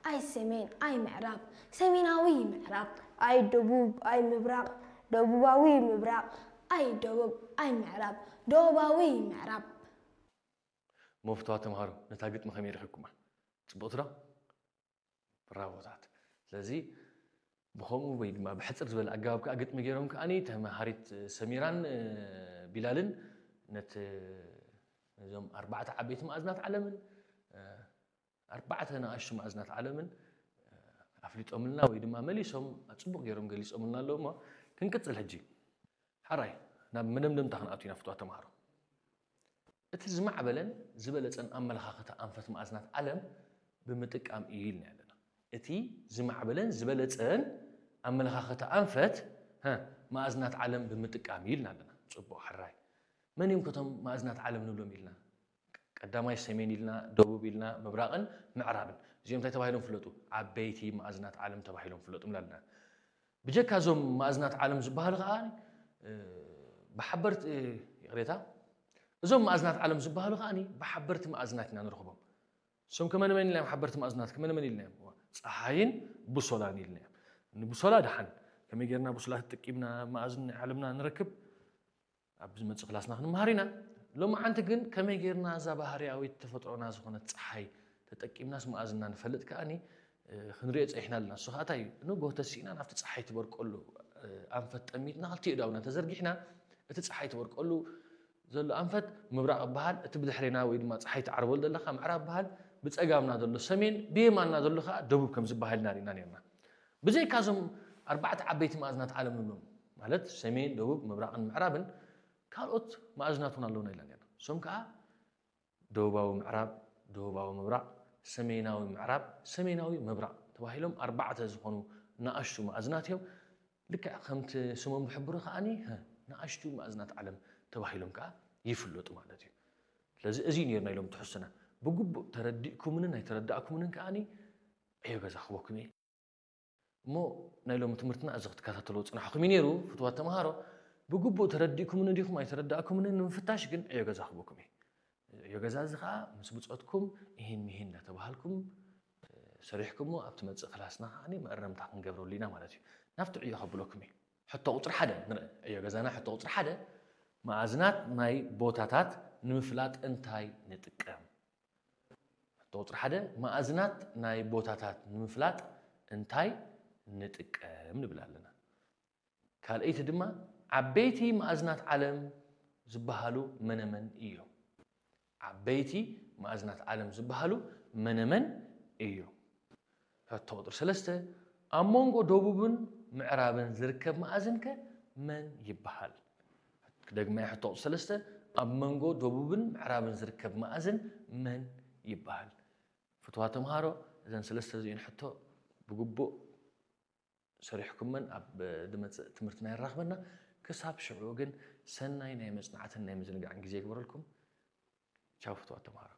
ኣይ ሰሜን ኣይ ምዕራብ ሰሜናዊ ምዕራብ ኣይ ደቡብ ኣይ ምብራቕ ደቡባዊ ምብራቕ ኣይ ደቡብ ኣይ ምዕራብ ደቡባዊ ምዕራብ። መፍትዋ ተምሃሮ ነታ ግጥሚ ከመይ ረኺብኩማ? ጽቡቕቲ ዶ? ብራቮታት። ስለዚ ብኸምኡ ወይ ድማ ብሕጽር ዝበለ ኣገባብ ከዓ ግጥሚ ገይሮም ከዓኒ ተምሃሪት ሰሚራን ቢላልን ነቲ ነዞም ኣርባዕተ ዓበይቲ ማእዝናት ዓለምን ኣርባዕተ ንኣሽቱ ማእዝናት ዓለምን ኣፍሊጦምልና ወይ ድማ መሊሶም ጽቡቕ ገይሮም ገሊጾምልና ኣለዉ እሞ ክንቅጽል ሕጂ። ሓራይ ናብ መደምደምታ ክንኣቱ ኢና ፍትዋ ተምሃሮ። እቲ ዝማዕበለን ዝበለጸን ኣመለኻኽታ ኣንፈት ማእዝናት ዓለም ብምጥቃም እዩ ኢልና ኣለና። እቲ ዝማዕበለን ዝበለጸን ኣመለኻኽታ ኣንፈት ማእዝናት ዓለም ብምጥቃም እዩ ኢልና ኣለና። ጽቡቕ ሕራይ። መን እዮም ከቶም ማእዝናት ዓለም ንብሎም ኢልና? ቀዳማይ ሰሜን ኢልና፣ ደቡብ ኢልና፣ ምብራቕን ምዕራብን። እዚኦም እንታይ ተባሂሎም ፍለጡ? ዓበይቲ ማእዝናት ዓለም ተባሂሎም ፍለጡ ኢልና ኣለና። ብጀካ እዞም ማእዝናት ዓለም ዝበሃሉ ከዓ ብሓበርቲ ይቕሬታ እዞም ማእዝናት ዓለም ዝበሃሉ ከዓ ብሓበርቲ ማእዝናት ኢና ንረኽቦም። እሶም ከመነመን ኢልና እዮም ሓበርቲ ማእዝናት ከመነመን ኢልና እዮም ፀሓይን ብሶላን ኢልና እዮም። ንብሶላ ድሓን ከመይ ጌርና ብሶላ ተጠቂምና ማእዝን ናይ ዓለምና ንረክብ ኣብ ዝመፅእ ክላስና ክንመሃር ኢና። ሎማዓንቲ ግን ከመይ ጌርና እዛ ባህርያዊት ተፈጥሮና ዝኾነት ፀሓይ ተጠቂምናስ ማእዝና ንፈልጥ ከዓኒ ክንሪኦ ፀኒሕና ኣለና። እሱ ከዓ እንታይ እዩ? ንጎ ተሲእና ናብቲ ፀሓይ ትበርቀሉ ኣንፈት ጠሚትና ክልቲኡ ዳውና ተዘርጊሕና እቲ ፀሓይ ትበርቀሉ ዘሎ ኣንፈት ምብራቕ ይበሃል፣ እቲ ብድሕሬና ወይ ድማ ፀሓይ ትዓርበሉ ዘለኻ ምዕራብ ይበሃል፣ ብፀጋምና ዘሎ ሰሜን፣ ብየማንና ዘሎ ከዓ ደቡብ ከም ዝበሃል ኢና ርኢና ነርና። ብዘይካ እዞም ኣርባዕተ ዓበይቲ ማእዝናት ዓለም ንብሎም ማለት ሰሜን፣ ደቡብ፣ ምብራቕን ምዕራብን ካልኦት ማእዝናት እውን ኣለውና ኢልና ነርና። እሶም ከዓ ደቡባዊ ምዕራብ፣ ደቡባዊ ምብራቕ፣ ሰሜናዊ ምዕራብ፣ ሰሜናዊ ምብራቕ ተባሂሎም ኣርባዕተ ዝኾኑ ንኣሽቱ ማእዝናት እዮም። ልክዕ ከምቲ ስሞም ዝሕብሩ ከዓኒ ንኣሽቱ ማእዝናት ዓለም ተባሂሎም ከዓ ይፍለጡ ማለት እዩ። ስለዚ እዚ ነይሩ ናይ ሎም ትሕዝቶና። ብግቡእ ተረዲእኩምንን ኣይተረዳእኩምንን ከዓኒ ዕዮ ገዛ ክቦኩም እየ። እሞ ናይ ሎም ትምህርትና እዚ ክትከታተልዎ ፅናሕኩም እዩ ነይሩ። ፍትዋት ተምሃሮ ብግቡእ ተረዲእኩምኒ ዲኹም ኣይተረዳእኩምንን ንምፍታሽ ግን ዕዮ ገዛ ክቦኩም እየ። ዕዮ ገዛ እዚ ከዓ ምስ ብፆትኩም እሂን ምሂን እንዳተባሃልኩም ሰሪሕኩሞ ኣብቲ መፅእ ክላስና ከዓ መእረምታ ክንገብረሉ ኢና ማለት እዩ። ናብቲ ዕዮ ከብለኩም እዩ። ሕቶ ቁፅሪ ሓደ ንርኢ። ዕዮ ገዛና ሕቶ ቁፅሪ ሓደ መኣዝናት ናይ ቦታታት ንምፍላጥ እንታይ ንጥቀም? ሕቶ ቁፅሪ ሓደ መኣዝናት ናይ ቦታታት ንምፍላጥ እንታይ ንጥቀም ንብል ኣለና። ካልኣይቲ ድማ ዓበይቲ መኣዝናት ዓለም ዝበሃሉ መነመን እዮም? ዓበይቲ መኣዝናት ዓለም ዝበሃሉ መነመን እዮም? ሕቶ ቁፅሪ ሰለስተ ኣብ መንጎ ደቡብን ምዕራብን ዝርከብ መኣዝን ከ መን ይበሃል? ክደግማ ሕቶ ቁፅሪ ሰለስተ ኣብ መንጎ ደቡብን ምዕራብን ዝርከብ መኣዝን መን ይበሃል? ፍትዋ ተምሃሮ እዘን ሰለስተ እዚኤን ሕቶ ብግቡእ ሰሪሕኩመን ኣብ ዝመፅእ ትምህርትና የራኽበና። ክሳብ ሽዑ ግን ሰናይ ናይ መፅናዕትን ናይ ምዝንጋዕን ግዜ ይግበረልኩም። ቻው ፍትዋት ተምሃሮ።